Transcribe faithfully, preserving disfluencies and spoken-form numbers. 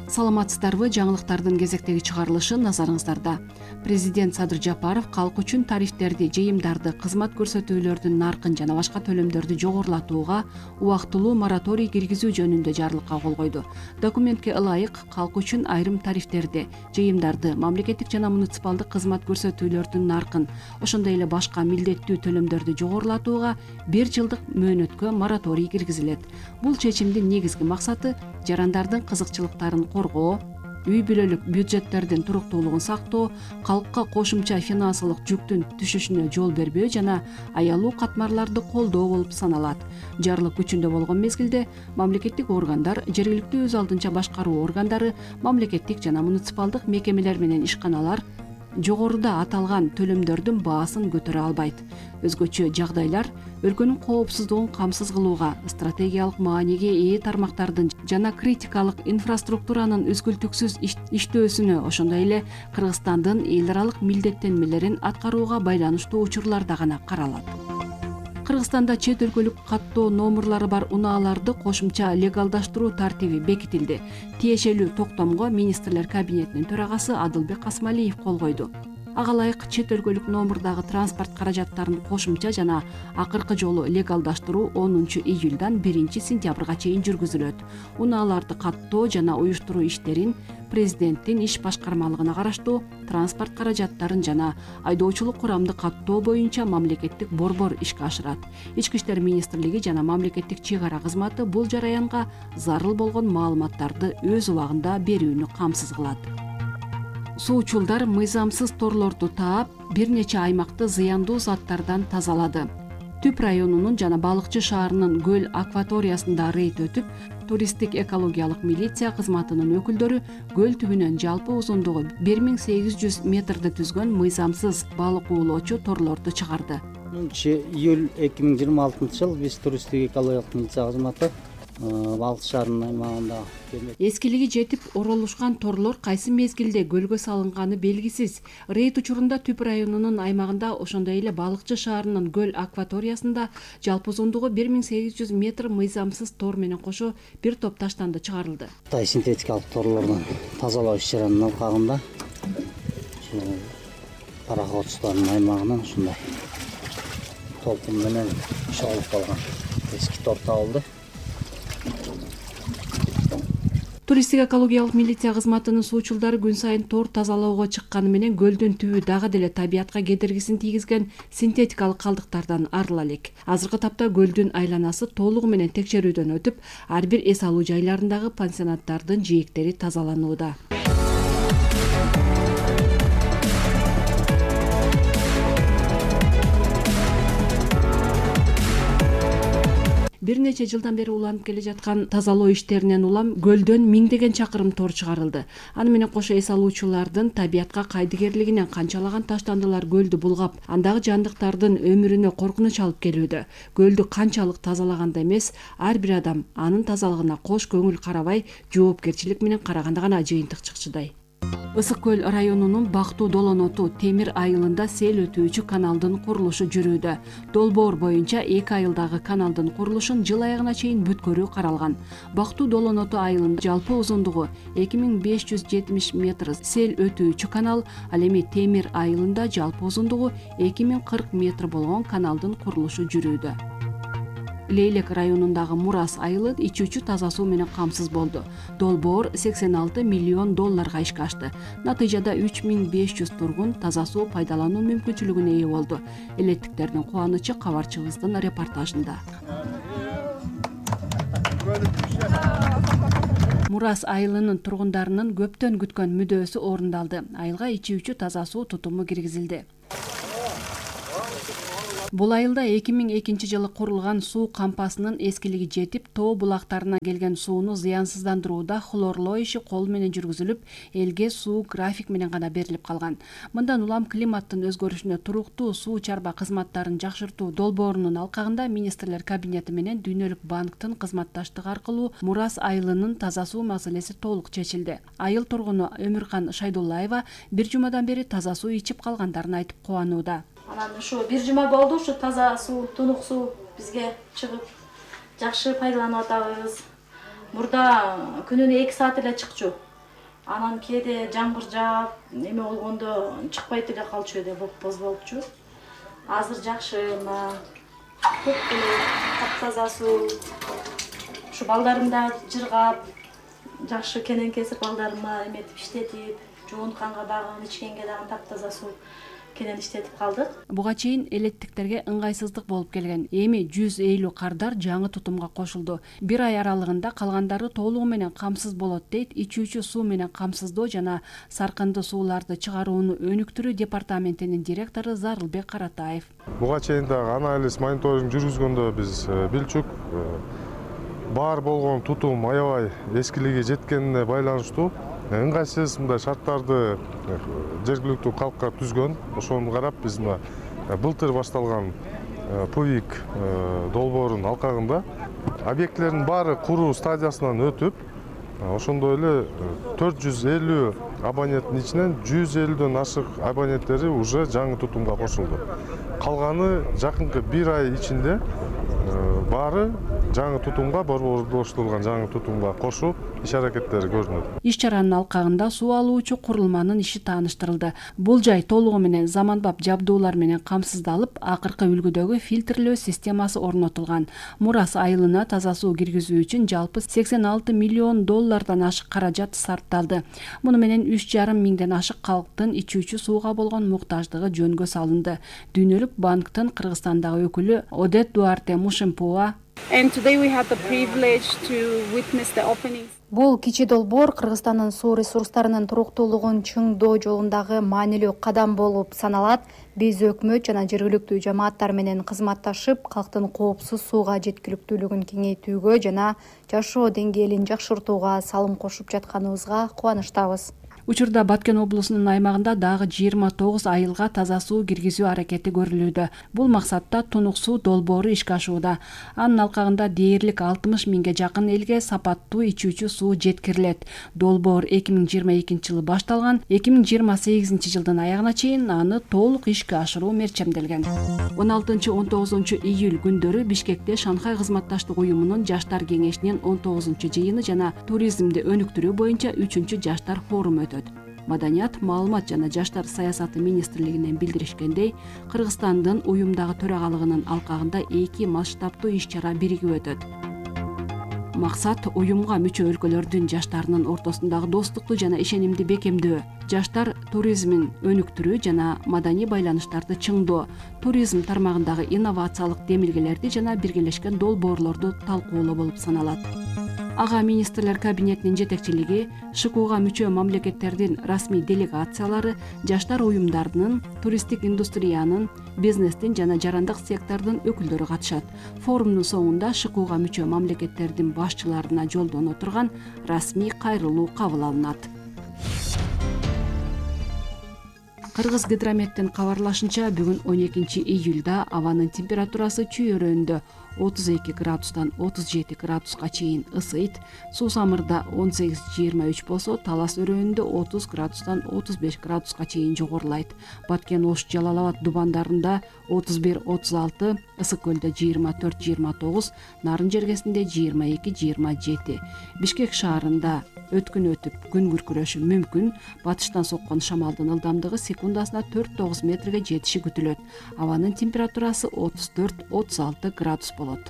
Саламатсыздарбы? Жаңылыктардын кезектеги чыгарылышы назарыңыздарда. Президент Садыр Жапаров калк үчүн тарифтерди, жыйымдарды, кызмат көрсөтүүлөрдүн наркын жана башка төлөмдөрдү жогорулатууга убактылуу мораторий киргизүү жөнүндө жарлыкка кол койду. Документке ылайык калк үчүн айрым тарифтерди, жыйымдарды, мамлекеттик жана муниципалдык кызмат көрсөтүүлөрдүн наркын, ошондой эле башка милдеттүү төлөмдөрдү жогорулатууга бир жылдык мөөнөткө мораторий киргизилет. Бул чечимдин негизги максаты жарандардын кызыкчылыктарын коргоо, үй-бүлөлүк бюджеттердин туруктуулугун сактоо, калкка кошумча финансылык жүктүн түшүшүнө жол бербөө жана аялуу катмарларды колдоо болуп саналат. Жарлык күчүндө болгон мезгилде мамлекеттик органдар, жергиликтүү өз алдынча башкаруу органдары, мамлекеттик жана муниципалдык мекемелер менен ишканалар жогоруда аталган төлөмдөрдүн баасын көтөрө албайт. Өзгөчө жагдайлар өлкөнүн коопсуздугун камсыз кылууга, стратегиялык мааниге ээ тармактардын жана критикалык инфраструктуранын үзгүлтүксүз иштөөсүнө, ошондой эле Кыргызстандын эл аралык милдеттенмелерин аткарууга байланыштуу учурларда гана каралат. Кыргызстанда чет өлкөлүк каттоо номурлары бар унааларды кошумча легалдаштыруу тартиби бекитилди. Тиешелүү токтомго министрлер кабинетинин төрагасы Адылбек Касмалиев кол койду. Ага ылайык чет өлкөлүк номурдагы транспорт каражаттарын кошумча жана акыркы жолу легалдаштыруу онунчу июлдан биринчи сентябрга чейин жүргүзүлөт. Унааларды каттоо жана уюштуруу иштерин президенттин иш башкармалыгына караштуу транспорт каражаттарын жана айдоочулук курамды каттоо боюнча мамлекеттик борбор ишке ашырат. Ички иштер министрлиги жана мамлекеттик чек ара кызматы бул жараянга зарыл болгон маалыматтарды өз убагында берүүнү камсыз кылат. Суучулдар мыйзамсыз торлорду таап, бир нече аймакты зыяндуу заттардан тазалады. Түп районунун жана Балыкчы шаарынын көл акваториясында рейд өтүп, туристтик экологиялык милиция кызматынын өкүлдөрү көл түбүнөн жалпы узундугу бир миң сегиз жүз метрди түзгөн мыйзамсыз балык уулоочу торлорду чыгарды. Июль эки миң жыйырма алтынчы жыл биз туристтик экологиялык милиция кызматы Балыкчы шаарынын аймагында эскилиги жетип оролушкан торлор кайсы мезгилде көлгө салынганы белгисиз. Рейд учурунда Түп районунун аймагында, ошондой эле Балыкчы шаарынын көл акваториясында жалпы узундугу бир миң сегиз жүз метр мыйзамсыз тор менен кошо бир топ таштанды чыгарылды. Тай синтетикалык торлордун тазалоо иш-чаранын алкагында пароходчулардын аймагынан ушундай толкун менен чогулуп калган эски тор табылды. Туристтик экологиялык милиция кызматынын суучулдары күн сайын тор тазалоого чыкканы менен көлдүн түбү дагы деле табиятка кедергисин тийгизген синтетикалык калдыктардан арыла элек. Азыркы тапта көлдүн айланасы толугу менен текшерүүдөн өтүп, ар бир эс алуу жайларындагы пансионаттардын жээктери тазаланууда. Бир нече жылдан бери уланып келе жаткан тазалоо иштеринен улам көлдөн миңдеген чакырым тор чыгарылды. Аны менен кошо эс алуучулардын табиятка кайдыгерлигинен канчалаган таштандылар көлдү булгап, андагы жандыктардын өмүрүнө коркунуч алып келүүдө. Көлдү канчалык тазалаганда эмес, ар бир адам анын тазалыгына кош көңүл карабай, жоопкерчилик менен караганда гана жыйынтык чыкчудай. Ысык көл районунун Бактуу Долоноту Темир айылында сел өтүүчү каналдын курулушу жүрүүдө. Долбоор боюнча эки айылдагы каналдын курулушун жыл аягына чейин бүткөрүү каралган. Бактуу Долоноту айылында жалпы узундугу эки миң беш жүз жетимиш метр сел өтүүчү канал, ал эми Темир айылында жалпы узундугу эки миң кырк метр болгон каналдын курулушу жүрүүдө. Лейлек районундагы Мурас айылы ичүүчү таза суу менен камсыз болду. Долбоор сексен алты миллион долларга ишке ашты. Натыйжада үч миң беш жүз тургун таза суу пайдалануу мүмкүнчүлүгүнө ээ болду. Элеттиктердин кубанычы кабарчыбыздын репортажында. Мурас айылынын тургундарынын көптөн күткөн мүдөөсү орундалды. Айылга ичүүчү таза суу тутуму киргизилди. Бул айылда эки миң экинчи жылы курулган суу кампасынын эскилиги жетип, тоо булактарына келген сууну зыянсыздандырууда хлорлоо иши кол менен жүргүзүлүп, элге суу график менен гана берилип калган. Мындан улам климаттын өзгөрүшүнө туруктуу суу чарба кызматтарын жакшыртуу долбоорунун алкагында министрлер кабинети менен Дүйнөлүк банктын кызматташтыгы аркылуу Мурас айылынын таза суу маселеси толук чечилди. Айыл тургуну Өмүркан Шайдуллаева бир жумадан бери таза суу ичип калгандарын айтып кубанууда. Анан ушу бир жума болду, ушу таза суу, тунук суу бизге чыгып, жакшы пайдаланып атабыз. Мурда күнүнө эки саат эле чыкчу. Анан кээде жамгыр жаап, эме болгондо чыкпай деле калчу эде, боз болупчу. Азыр жакшы, мына көп эле таптаза суу. Ушу балдарым да жыргап, жакшы кенен кесип балдарыма эметип иштетип, жуунтканга дагы, ичкенге дагы таптаза суу кенен иштетип калдык. Буга чейин электикттерге ыңгайсыздык болуп келген. Эми жүз элүү кардар жаңы тутумга кошулду. Бир ай аралыгында калгандары толугу менен камсыз болот дейт ичүүчү суу менен камсыздоо жана саркынды сууларды чыгарууну өнүктүрүү департаментинин директору Зарылбек Каратаев. Буга чейин дагы анализ, мониторинг жүргүзгөндө биз билчүк. Бар болгон тутум аябай эскилиги жеткенине байланыштуу ыңгайсыз мындай шарттарды жергиликтүү калкка түзгөн. Ошону карап биз мына былтыр башталган ПУИК долбоорунун алкагында объектилердин баары куруу стадиясынан өтүп, ошондой эле төрт жүз элүү абоненттин ичинен жүз элүүдөн ашык абоненттери уже жаңы тутумга кошулду. Калганы жакынкы бир ай ичинде баары жаңы тутумга, борборлоштурулган жаңы тутумга кошуу иш аракеттери көрүнөт. Иш чаранын алкагында суу алуучу курулманын иши тааныштырылды. Бул жай толугу менен заманбап жабдуулар менен камсыздалып, акыркы үлгүдөгү фильтрлөө системасы орнотулган. Мурас айылына таза суу киргизүү үчүн жалпы сексен алты миллион доллардан ашык каражат сарпталды. Муну менен үч жарым миңден ашык калктын ичүүчү сууга болгон муктаждыгы жөнгө салынды. Дүйнөлүк банктын Кыргызстандагы өкүлү Одет Дуарте Мушимпуа And today we had the privilege to witness the opening. Бул кичи долбоор Кыргызстандын суу ресурстарынын туруктуулугун чыңдоо жолундагы маанилүү кадам болуп саналат. Биз өкмөт жана жергиликтүү жамааттар менен кызматташып, калктын коопсуз сууга жеткиликтүүлүгүн кеңейтүүгө жана жашоо деңгээлин жакшыртууга салым кошуп жатканыбызга кубанычтабыз. Учурда Баткен облусунун аймагында дагы жыйырма тогуз айылга таза суу киргизүү аракети көрүлүүдө. Бул максатта тунук суу долбоору ишке ашууда. Анын алкагында дээрлик алтымыш миңге жакын элге сапаттуу ичүүчү суу жеткирилет. Долбоор эки миң жыйырма экинчи жылы башталган, эки миң жыйырма сегизинчи жылдын аягына чейин аны толук ишке ашыруу мерчемделген. он алтынчы он тогузунчу июль күндөрү Бишкекте Шанхай кызматташтык уюмунун жаштар кеңешинин он тогузунчу жыйыны жана туризмди өнүктүрүү боюнча үчүнчү жаштар форуму өтөт. Маданият, маалымат жана жаштар саясаты министрлигинен билдиришкендей, Кыргызстандын уюмдагы төрагалыгынын алкагында эки масштабтуу иш-чара биригип өтөт. Максат уюмга мүчө өлкөлөрдүн жаштарынын ортосундагы достукту жана ишенимди бекемдөө, жаштар туризмин өнүктүрүү жана маданий байланыштарды чыңдоо, туризм тармагындагы инновациялык демилгелерди жана биргелешкен долбоорлорду талкуулоо болуп саналат. Ага министрлер кабинетинин жетекчилиги, ШКУга мүчө мамлекеттердин расмий делегациялары, жаштар уюмдарынын, туристтик индустриянын, бизнестин жана жарандык сектордун өкүлдөрү катышат. Форумдун соңунда ШКУга мүчө мамлекеттердин башчыларына жолдоно турган расмий кайрылуу кабыл алынат. Кыргыз гидрометтин кабарлашынча, бүгүн он экинчи июлда абанын температурасы чүй өрөөндө отуз эки градустан отуз жети градуска чейин ысыйт. Суусамырда он сегиз жыйырма үч болсо, Талас өрөөндө отуз градустан отуз беш градуска чейин жогорулайт. Баткен, Ош, Жалал Абад дубандарында отуз бир отуз алты, Ысык көлдө жыйырма төрт жыйырма тогуз, Нарын жергесинде жыйырма эки жыйырма жети. Бишкек шаарында өткүн өтүп күн күркүрөшү мүмкүн. Батыштан соккон шамалдын ылдамдыгы секундасына төрт тогуз метрге жетиши күтүлөт. Абанын температурасы отуз төрт отуз алты градус болот.